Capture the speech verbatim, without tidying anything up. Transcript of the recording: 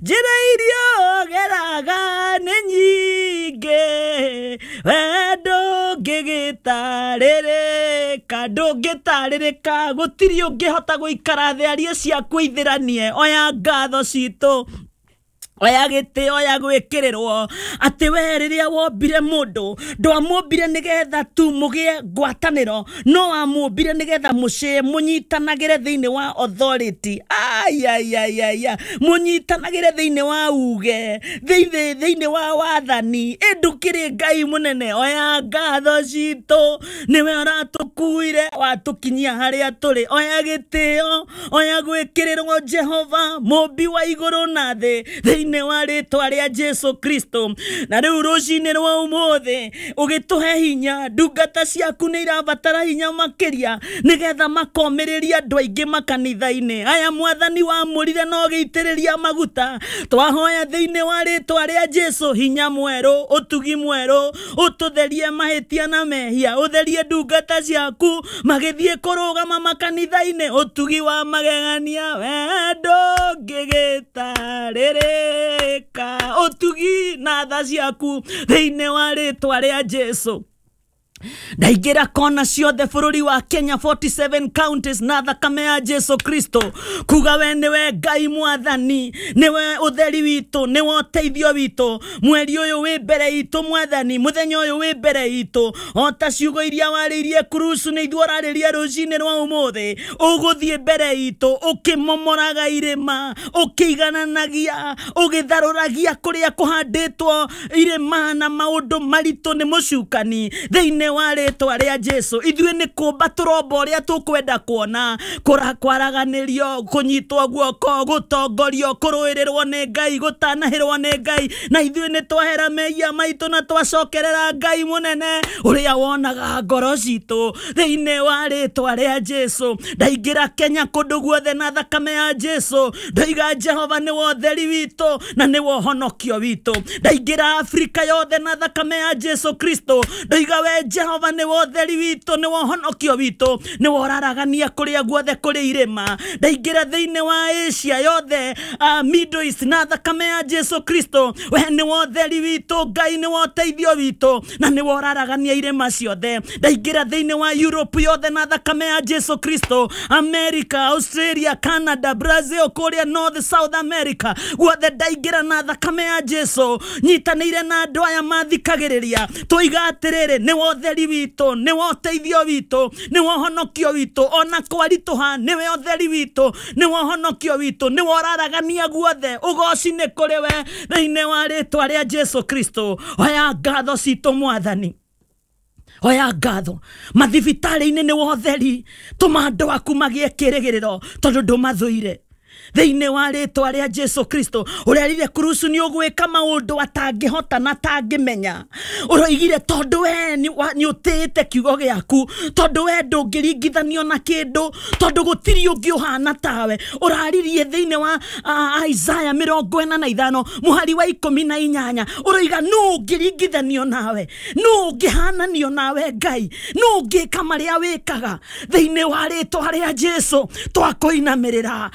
Njĩra iria ũgeraga nĩ nyingĩ, we ndũngĩgĩtarĩrĩka, ndũngĩtarĩrĩka, gũtirĩ ũngĩhota gũikara thĩ arie ciaku ithĩranie. Oya ngatho citũ, oya gĩtĩ, oya gwĩkĩrĩrwo atĩ we rĩrĩa wombire mũndũ ndwamũmbire nĩgetha tu mũgĩe ngwatanĩro, no wamũmbire nĩgetha mũcĩe mũnyitanagĩre thĩinĩ wa authority. Ayayayaya, mũnyitanagĩre thĩinĩ wa uge, thĩinĩ thĩinĩ wa wathani. Ĩ ndũkĩrĩ Ngai mũnene. Oya ngatho citũ, nĩwe ũratũkuire watũkinyia harĩa tũrĩ. Oya gĩtĩo, oya gwĩkĩrĩrwo Jehova mũmbi wa igũrũ na thĩ, thĩinĩ wa rĩtwa rĩa Jesu Kristo. Na rĩu rũcinĩ rwa ũmũthĩ ũgĩtũhe hinya, ndungata ciaku nĩ irabatara hinya makĩria nĩgetha makomĩrĩria andũ aingĩ makanitha-inĩ aya. Mwathani wamũrire na ũgĩitĩrĩria maguta, twahoya thĩinĩ wa rĩtwa rĩa Jesu hinya mwerũ, ũtugi mwerũ, ũtũtherie mahĩtia na mehia, ũtherie ndungata ciaku magĩthiĩ kũrũgama makanitha-inĩ, ũtugi wa magegania we ndũngĩgĩtarĩrĩka, ũtugi na tha ciaku thĩinĩ wa rĩtwa rĩa Jesu. Ndaingĩra kona ciothe bũrũri wa Kenya, forty-seven counties, na thakame ya Jesu Kristo, kuga we nĩwe Ngai mwathani, nĩwe ũtheri witũ, nĩwe ũteithio witũ. Mweri ũyũ wĩ mbere itũ mwathani, mũthenya ũyũ wĩ mbere itũ, o ta ciugo iria warĩirie kurusu nĩ ithuĩ ũrarĩria rũcinĩ rwa ũmũthĩ. Ũgũthiĩ mbere itũ ũkĩmomoraga irĩma, ũkĩigananagia, ũgĩtharũragia kũrĩa kũhandĩtwo irĩma na maũndũ maritũ nĩ mũcukani, thĩinĩ wa rĩtwa rĩa Jesu. Ithuĩ nĩ kũmba tũromba ũrĩa tũkwenda kuona, kũra kwaraganĩrio, kũnyitwo guoko, gũtongorio, kũrũĩrĩrwo nĩ Ngai, gũtanahĩrwo nĩ Ngai. Na ithuĩ nĩ twahera mehia maitũ na twacokerera Ngai mũnene ũrĩa wonaga ngoro citũ, thĩinĩ wa rĩtwa rĩa Jesu. Ndaingĩra Kenya kũndũ guothe na thakame ya Jesu, ndoiga Jehova nĩwe ũtheri witũ na nĩwe ũhonokio witũ. Ndaingĩra Afrika yothe na thakame ya Jesu Kristo, ndoiga we Jehova nĩwe ũtheri witũ, nĩwe ũhonokio witũ, nĩwe ũraragania kũrĩa guothe kũrĩ irĩma. Ndaingĩra thĩinĩ wa Asia yothe, uh, Middle East, na thakame ya Jesu Kristo, we nĩwe ũtheri witũ, Ngai nĩwe ũteithio witũ na nĩwe ũraragania irĩma ciothe. Ndaingĩra thĩinĩ wa Europe yothe na thakame ya Jesu Kristo, America, Australia, Canada, Brazil, kũrĩa North South America guothe ndaingĩra na thakame ya Jesu. Nyitanĩire na andũ aya mathikagĩrĩria, tũiga atĩrĩrĩ, nĩwe ũtheri witũ, nĩwe ũteithio witũ, nĩwe ũhonokio witũ. Ona kwaritũha, nĩwe ũtheri witũ, nĩwe ũhonokio witũ, nĩwe ũraragania guothe. Ũgoci nĩ kũrĩ we thĩinĩ wa rĩtwa rĩa Jesu Kristo. Oya ngatho citũ mwathani, oya ngatho. Mathibitarĩ-inĩ nĩwe ũtheri, tũma andũ aku magĩe kĩrĩgĩrĩro tondũ ndũmathũire, thĩinĩ wa rĩtwa rĩa Jesu Kristo. Ũrerire kurusu nĩ ũgwĩka maũndũ atangĩhota na atangĩmenya. Ũroigire tondũ we nĩ ũtĩĩte kiugo gĩaku, tondũ we ndũngĩringithanio na kĩndũ, tondũ gũtirĩ ũngĩ ũhana tawe. Ũraririe thĩinĩ wa uh, Isaya mĩrongo ĩna na ithano mũhari wa ikũmi na inyanya, ũroiga nũ ũngĩringithanio nawe, nũ ũngĩhananio nawe Ngai, nũ ũngĩka marĩa wĩkaga. Thĩinĩ wa rĩtwa rĩa Jesu twakũinamĩrĩra.